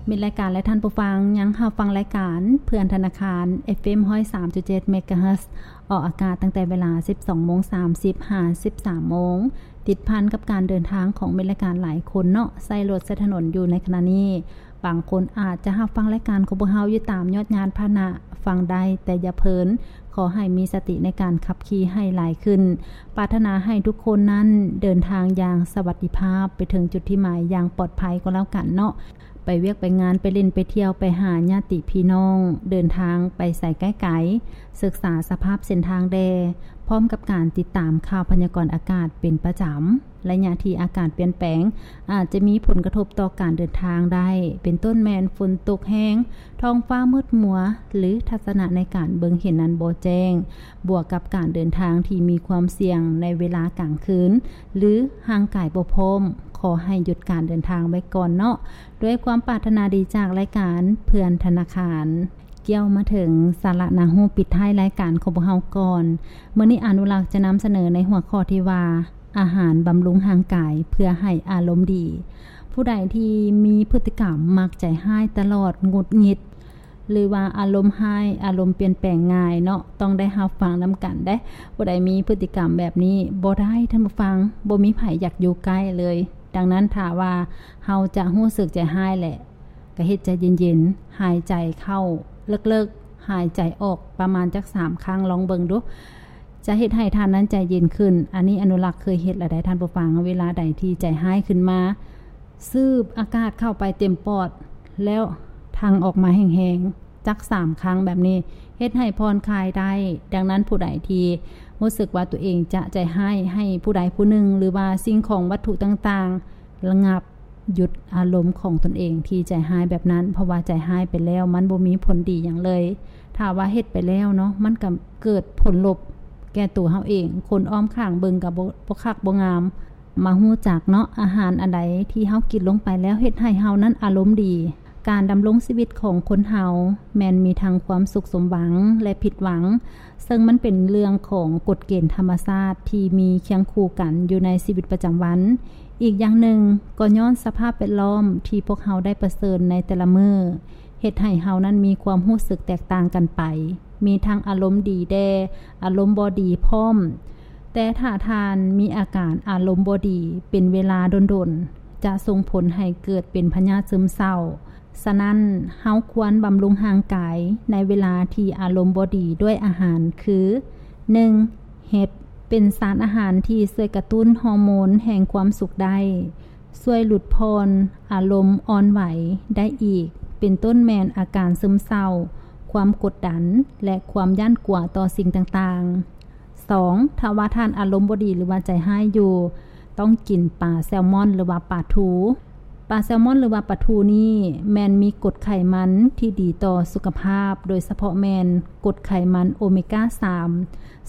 ມິດລາຍການ ແລະ ທ່ານຜູ້ຟັງ ຍັງຮັບຟັງລາຍການເພື່ອນທະນາຄານ ເອັຟເອັມ ຮ້ອຍສາມຈຸດເຈັດ ເມກາເຮີດ ອອກອາກາດຕັ້ງແຕ່ເວລາ ສິບສອງໂມງສາມສິບ ຫາ ສິບສາມໂມງ ຕິດພັນກັບການເດີນທາງຂອງມິດລາຍການຫຼາຍຄົນເນາະ ໃຊ້ລົດໃຊ້ຖະໜົນຢູ່ໃນຂະນະນີ້. ບາງຄົນອາດຈະຮັບຟັງລາຍການຂອງພວກເຮົາຢູ່ຕາມຍອດຍານພາຫະນະ ຟັງໄດ້ແຕ່ຢ່າເພີນ. ຂໍໃຫ້ມີສະຕິໃນການຂັບຂີ່ໃຫ້ຫຼາຍຂຶ້ນ. ປາດຖະໜາໃຫ້ທຸກຄົນນັ້ນເດີນທາງຢ່າງສະຫວັດດີພາບ ໄປເຖິງຈຸດທີ່ໝາຍຢ່າງປອດໄພກໍແລ້ວກັນເນາະ. ໄປວຽກໄປງານ ໄປຫຼິ້ນໄປທ່ຽວ ໄປຫາຍາດຕິພີ່ນ້ອງ ເດີນທາງໄປໃສໄກໆ ສຶກສາສະພາບເສັ້ນທາງແດ່ ພ້ອມກັບການຕິດຕາມຂ່າວພະຍາກອນອາກາດເປັນປະຈຳ. ໄລຍະທີ່ອາກາດປ່ຽນແປງ ອາດຈະມີຜົນກະທົບຕໍ່ການເດີນທາງໄດ້ ເປັນຕົ້ນແມ່ນຝົນຕົກແຮງ, ທ້ອງຟ້າມືດມົວ ຫຼື ທັດສະນະໃນການເບິ່ງເຫັນນັ້ນບໍ່ແຈ້ງ, ບວກກັບການເດີນທາງທີ່ມີຄວາມສ່ຽງໃນເວລາກາງຄືນ ຫຼື ຮ່າງກາຍບໍ່ພ້ອມ, ຂໍໃຫ້ຢຸດການເດີນທາງໄວ້ກ່ອນເນາະ. ດ້ວຍຄວາມປາດຖະໜາດີຈາກລາຍການເພື່ອນທະນາຄານ. ກ່ຽວມາເຖິງສາລະໜ້າຮູ້ປິດທ້າຍລາຍການຂອງພວກເຮົາກ່ອນ. ມື້ນີ້ອະນຸລັກຈະນຳສະເໜີໃນຫົວຂໍ້ທີ່ວ່າ ອາຫານບຳລຸງຮ່າງກາຍເພື່ອໃຫ້ອາລົມດີ. ຜູ້ໃດທີ່ມີພຶດຕິກຳມັກໃຈຮ້າຍຕະຫຼອດ, ຫງຸດຫງິດ ຫຼືວ່າອາລົມຮ້າຍ, ອາລົມປ່ຽນແປງງ່າຍເນາະ, ຕ້ອງໄດ້ຮັບຟັງນຳກັນເດ້. ຜູ້ໃດມີພຶດຕິກຳແບບນີ້ບໍ່ໄດ້, ທ່ານຜູ້ຟັງ, ບໍ່ມີໃຜຢາກຢູ່ໃກ້ເລີຍ. ດັ່ງນັ້ນ, ຖ້າວ່າເຮົາຈະຮູ້ສຶກໃຈຮ້າຍແຫຼະ, ກໍເຮັດໃຈເຢັນໆ, ຫາຍໃຈເຂົ້າເລິກໆ, ຫາຍໃຈອອກປະມານຈັກສາມຄັ້ງ, ລອງເບິ່ງດູ. ຈະເຮັດໃຫ້ທ່ານນັ້ນໃຈເຢັນຂຶ້ນ. ອັນນີ້ອະນຸລັກເຄີຍເຮັດແລ້ວໃດ໋ທ່ານຜູ້ຟັງ, ເວລາໃດທີ່ໃຈຮ້າຍຂຶ້ນມາ, ສູດອາກາດເຂົ້າໄປເຕັມປອດ ແລ້ວຖັງອອກມາແຮງໆ ຈັກສາມຄັ້ງແບບນີ້ ເຮັດໃຫ້ຜ່ອນຄາຍໄດ້. ດັ່ງນັ້ນ, ຜູ້ໃດທີ່ຮູ້ສຶກວ່າຕົວເອງຈະໃຈຮ້າຍໃຫ້ຜູ້ໃດຜູ້ໜຶ່ງ ຫຼືວ່າສິ່ງຂອງວັດຖຸຕ່າງໆ ລະງັບ ຢຸດອາລົມຂອງຕົນເອງທີ່ໃຈຮ້າຍແບບນັ້ນ, ເພາະວ່າໃຈຮ້າຍໄປແລ້ວມັນບໍ່ມີຜົນດີຫຍັງເລີຍ. ຖ້າວ່າເຮັດໄປແລ້ວເນາະ, ມັນກໍເກີດຜົນລົບແກ່ຕົວເຮົາເອງ, ຄົນອ້ອມຂ້າງເບິ່ງກໍບໍ່ ບໍ່ຄັກບໍ່ງາມ. ມາຮູ້ຈັກເນາະ, ອາຫານອັນໃດທີ່ເຮົາກິນລົງໄປແລ້ວເຮັດໃຫ້ເຮົານັ້ນອາລົມດີ. ການດຳລົງຊີວິດຂອງຄົນເຮົາແມ່ນມີທັງຄວາມສຸກສົມຫວັງ ແລະ ຜິດຫວັງ, ເຊິ່ງມັນເປັນເລື່ອງຂອງກົດເກນທຳມະຊາດທີ່ມີຄຽງຄູ່ກັນຢູ່ໃນຊີວິດປະຈຳວັນ. ອີກຢ່າງໜຶ່ງ, ກໍຍ້ອນສະພາບແວດລ້ອມທີ່ພວກເຮົາໄດ້ປະເຊີນໃນແຕ່ລະມື້ ເຮັດໃຫ້ເຮົານັ້ນມີຄວາມຮູ້ສຶກແຕກຕ່າງກັນໄປ, ມີທັງອາລົມດີແດ່, ອາລົມບໍ່ດີພ້ອມ. ແຕ່ຖ້າທ່ານມີອາການອາລົມບໍ່ດີເປັນເວລາດົນໆ, ຈະສົ່ງຜົນໃຫ້ເກີດເປັນພະຍາດຊຶມເສົ້າ. ສະນັ້ນ, ເຮົາຄວນບຳລຸງຮ່າງກາຍໃນເວລາທີ່ອາລົມບໍ່ດີດ້ວຍອາຫານຄື, ໜຶ່ງ, ເຫັດ ເປັນສານອາຫານທີ່ຊ່ວຍກະຕຸ້ນຮໍໂມນແຫ່ງຄວາມສຸກໄດ້, ຊ່ວຍຫຼຸດຜ່ອນອາລົມອ່ອນໄຫວໄດ້ອີກ, ເປັນຕົ້ນແມ່ນອາການຊຶມເສົ້າ, ຄວາມກົດດັນ ແລະ ຄວາມຢ້ານກົວຕໍ່ສິ່ງຕ່າງໆ. ສອງ, ຖ້າວ່າທ່ານອາລົມບໍ່ດີ ຫຼືວ່າໃຈຮ້າຍຢູ່, ຕ້ອງກິນປາແຊລມອນ ຫຼືວ່າປາທູ. ປາແຊລມອນ ຫຼືວ່າປາທູນີ້ແມ່ນມີກົດໄຂມັນທີ່ດີຕໍ່ສຸຂະພາບ, ໂດຍສະເພາະແມ່ນກົດໄຂມັນໂອເມກາສາມ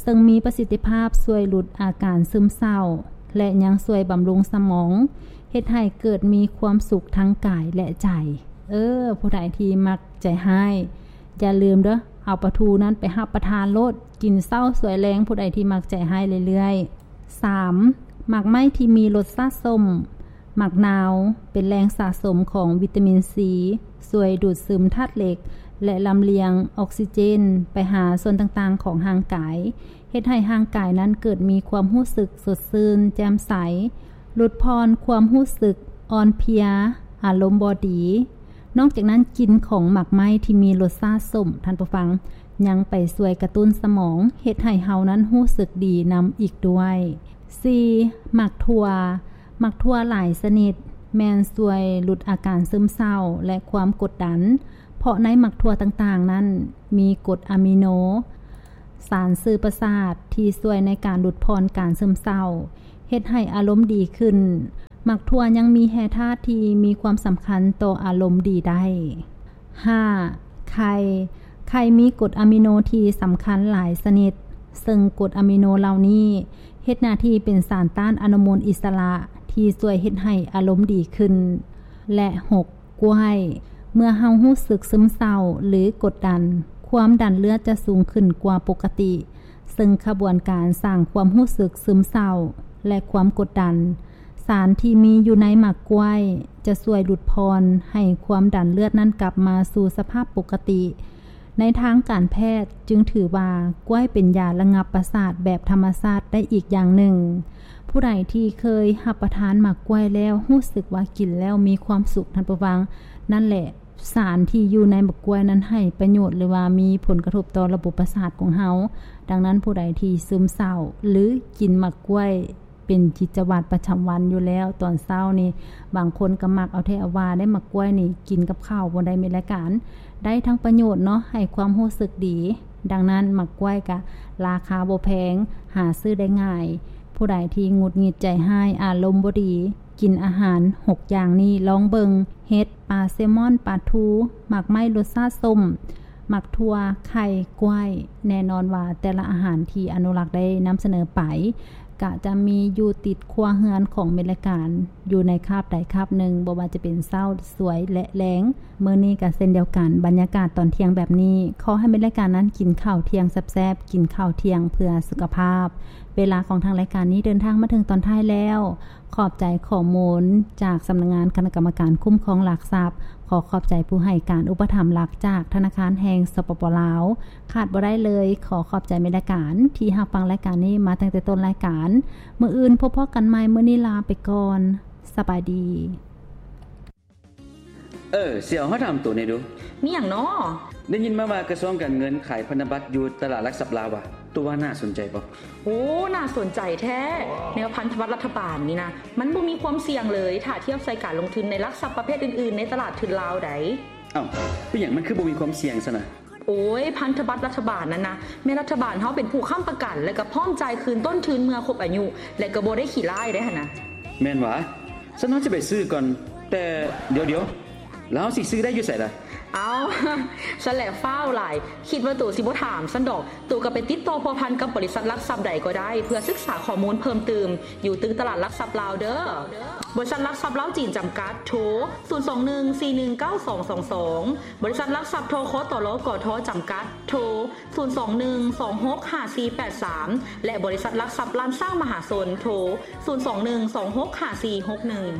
ເຊິ່ງມີປະສິດທິພາບຊ່ວຍຫຼຸດອາການຊຶມເສົ້າ ແລະ ຍັງຊ່ວຍບຳລຸງສະໝອງ, ເຮັດໃຫ້ເກີດມີຄວາມສຸກທັງກາຍ ແລະ ໃຈ. ເອີ, ຜູ້ໃດທີ່ມັກໃຈຮ້າຍ, ຢ່າລືມເດີ້, ເອົາປາທູນັ້ນໄປຮັບປະທານໂລດ, ກິນເຊົ້າສວຍແລງ, ຜູ້ໃດທີ່ມັກໃຈຮ້າຍເລື້ອຍໆ. ສາມ, ໝາກໄມ້ທີ່ມີລົດຊາດສົ້ມ. ໝາກນາວເປັນແຫຼ່ງສະສົມຂອງວິຕາມິນຊີ, ຊ່ວຍດູດຊຶມທາດເຫຼັກ ແລະ ລຳລຽງອອກຊີເຈນໄປຫາສ່ວນຕ່າງໆຂອງຮ່າງກາຍ, ເຮັດໃຫ້ຮ່າງກາຍນັ້ນເກີດມີຄວາມຮູ້ສຶກສົດຊື່ນ, ແຈ່ມໃສ, ຫຼຸດຜ່ອນຄວາມຮູ້ສຶກອ່ອນເພຍ, ອາລົມບໍ່ດີ. ນອກຈາກນັ້ນ, ກິ່ນຂອງໝາກໄມ້ທີ່ມີລົດຊາດສົ້ມ, ທ່ານຜູ້ຟັງ, ຍັງໄປຊ່ວຍກະຕຸ້ນສະໝອງ, ເຮັດໃຫ້ເຮົານັ້ນຮູ້ສຶກດີນຳອີກດ້ວຍ. ສີ່, ໝາກຖົ່ວ. ໝາກຖົ່ວຫຼາຍຊະນິດແມ່ນຊ່ວຍຫຼຸດອາການຊຶມເສົ້າ ແລະ ຄວາມກົດດັນ, ເພາະໃນໝາກຖົ່ວຕ່າງໆນັ້ນມີກົດອາມິໂນ, ສານສື່ປະສາດທີ່ຊ່ວຍໃນການຫຼຸດຜ່ອນການຊຶມເສົ້າ, ເຮັດໃຫ້ອາລົມດີຂຶ້ນ. ໝາກຖົ່ວຍັງມີແຮ່ທາດທີ່ມີຄວາມສຳຄັນຕໍ່ອາລົມດີໄດ້. ຫ້າ, ໄຂ່. ໄຂ່ມີກົດອາມິໂນທີ່ສຳຄັນຫຼາຍຊະນິດ, ເຊິ່ງກົດອາມິໂນເຫຼົ່ານີ້ເຮັດໜ້າທີ່ເປັນສານຕ້ານອະນຸມູນອິດສະຫຼະທີ່ຊ່ວຍເຮັດໃຫ້ອາລົມດີຂຶ້ນ. ແລະ ຫົກ, ກ້ວຍ. ເມື່ອເຮົາຮູ້ສຶກຊຶມເສົ້າ ຫຼື ກົດດັນ, ຄວາມດັນເລືອດຈະສູງຂຶ້ນກວ່າປົກກະຕິ, ເຊິ່ງຂະບວນການສ້າງຄວາມຮູ້ສຶກຊຶມເສົ້າ ແລະ ຄວາມກົດດັນ ສານທີ່ມີຢູ່ໃນໝາກກ້ວຍຈະຊ່ວຍຫຼຸດຜ່ອນໃຫ້ຄວາມດັນເລືອດນັ້ນກັບມາສູ່ສະພາບປົກກະຕິ. ໃນທາງການແພດຈຶ່ງຖືວ່າກ້ວຍເປັນຢາລະງັບປະສາດແບບທຳມະຊາດໄດ້ອີກຢ່າງໜຶ່ງ. ຜູ້ໃດທີ່ເຄີຍຮັບປະທານໝາກກ້ວຍແລ້ວຮູ້ສຶກວ່າກິນແລ້ວມີຄວາມສຸກ, ທ່ານຜູ້ຟັງ, ນັ້ນແຫຼະ ສານທີ່ຢູ່ໃນໝາກກ້ວຍນັ້ນໃຫ້ປະໂຫຍດ ຫຼືວ່າມີຜົນກະທົບຕໍ່ລະບົບປະສາດຂອງເຮົາ. ດັ່ງນັ້ນ ຜູ້ໃດທີ່ຊຶມເສົ້າ ຫຼື ກິນໝາກກ້ວຍເປັນກິດຈະວັດປະຈຳວັນຢູ່ແລ້ວ, ຕອນເຊົ້ານີ້ບາງຄົນກໍມັກເອົາແທ້ເອົາວ່າໄດ໋, ໝາກກ້ວຍນີ້ກິນກັບເຂົ້າບໍ່ໄດ້ ແມ່ນລາຍການ ໄດ້ທັງປະໂຫຍດເນາະ, ໃຫ້ຄວາມຮູ້ສຶກດີ. ດັ່ງນັ້ນ ໝາກກ້ວຍກະລາຄາບໍ່ແພງ, ຫາຊື້ໄດ້ງ່າຍ. ຜູ້ໃດທີ່ຫງຸດຫງິດໃຈຮ້າຍ, ອາລົມບໍ່ດີ, ກິນອາຫານຫົກຢ່າງນີ້ລອງເບິ່ງ, ເຫັດ, ປາແຊມອນ, ປາທູ, ໝາກໄມ້ລົດຊາດສົ້ມ, ໝາກຖົ່ວ, ໄຂ່, ກ້ວຍ. ແນ່ນອນວ່າແຕ່ລະອາຫານທີ່ອະນຸລັກໄດ້ນຳສະເໜີໄປ ກະຈະມີຢູ່ຕິດຄົວເຮືອນຂອງແມ່ນລາຍການ ຢູ່ໃນຄາບໃດຄາບໜຶ່ງ, ບໍ່ວ່າຈະເປັນເຊົ້າ, ສວຍ ແລະ ແລງ. ມື້ນີ້ກະເຊັ່ນດຽວກັນ, ບັນຍາກາດຕອນທ່ຽງແບບນີ້, ຂໍໃຫ້ແມ່ນລາຍການນັ້ນກິນເຂົ້າທ່ຽງແຊບໆ, ກິນເຂົ້າທ່ຽງເພື່ອສຸຂະພາບ. ເວລາຂອງທາງລາຍການນີ້ເດີນທາງມາເຖິງຕອນທ້າຍແລ້ວ. ຂອບໃຈຂໍ້ມູນຈາກສຳນັກງານຄະນະກຳມະການຄຸ້ມຄອງຫຼັກຊັບ. ຂໍຂອບໃຈຜູ້ໃຫ້ການອຸປະຖຳຫຼັກຈາກທະນາຄານແຫ່ງ ສປປ ລາວ. ຂາດບໍ່ໄດ້ເລີຍ. ຂໍຂອບໃຈແມ່ນລາຍການທີ່ຮັບຟັງລາຍການນີ້ມາຕັ້ງແຕ່ຕົ້ນລາຍການ. ມື້ອື່ນພົບພໍ້ກັນໃໝ່. ມື້ນີ້ລາໄປກ່ອນ. ສະບາຍດີ. ເອີ ສຽວ, ຂໍຖາມໂຕແດ່ດູ. ມີຫຍັງນໍ? ໄດ້ຍິນມາວ່າກະຊວງການເງິນຂາຍພັນທະບັດຢູ່ຕະຫຼາດຫຼັກຊັບລາວຫວາ? ໂຕວ່າໜ້າສົນໃຈບໍ່? ໂອ້ ໜ້າສົນໃຈແທ້. ແນວພັນທະບັດລັດຖະບານນີ້ນະ ມັນບໍ່ມີຄວາມສ່ຽງເລີຍ ຖ້າທຽບໃສ່ການລົງທຶນໃນຫຼັກຊັບປະເພດອື່ນໆໃນຕະຫຼາດທຶນລາວໃດ. ເອົ້າ, ເປັນຫຍັງມັນຄືບໍ່ມີຄວາມສ່ຽງຊັ້ນນະ? ໂອ້ຍ, ພັນທະບັດລັດຖະບານນັ້ນນະ ແມ່ນລັດຖະບານເຮົາເປັນຜູ້ຄ້ຳປະກັນ ແລະ ກໍພ້ອມຈ່າຍຄືນຕົ້ນທຶນເມື່ອຄົບອາຍຸ ແລະ ກໍບໍ່ໄດ້ຂີ້ລ້າຍໄດ໋ຫັ້ນນະ. ແມ່ນຫວາ? ຊັ້ນເຮົາຊິໄປຊື້ກ່ອນ. ແຕ່ດຽວໆ, ແລ້ວເຮົາຊິຊື້ໄດ້ຢູ່ໃສລະ? ເອົ້າ, ຊັ້ນແຫຼະຟ້າວຫຼາຍ, ຄິດວ່າໂຕຊິບໍ່ຖາມຊັ້ນດອກ. ໂຕກໍໄປຕິດຕໍ່ພົວພັນກັບບໍລິສັດຫຼັກຊັບໃດກໍໄດ້ ເພື່ອສຶກສາຂໍ້ມູນເພີ່ມຕື່ມ ຢູ່ຕຶກຕະຫຼາດຫຼັກຊັບລາວເດີ. ບໍລິສັດຫຼັກຊັບລາວຈີນຈຳກັດ, ໂທ ສູນສອງໜຶ່ງ ສີ່ໜຶ່ງເກົ້າ ສອງສອງສອງ. ບໍລິສັດຫຼັກຊັບ ທຄຕລ ກທ ຈຳກັດ, ໂທ ສູນສອງໜຶ່ງ ສອງຫົກຫ້າສີ່ແປດສາມ ແລະ ບໍລິສັດຫຼັກຊັບລ້ານຊ້າງມະຫາຊົນ, ໂທ ສູນສອງໜຶ່ງ ສອງຫົກຫ້າສີ່ຫົກໜຶ່ງ.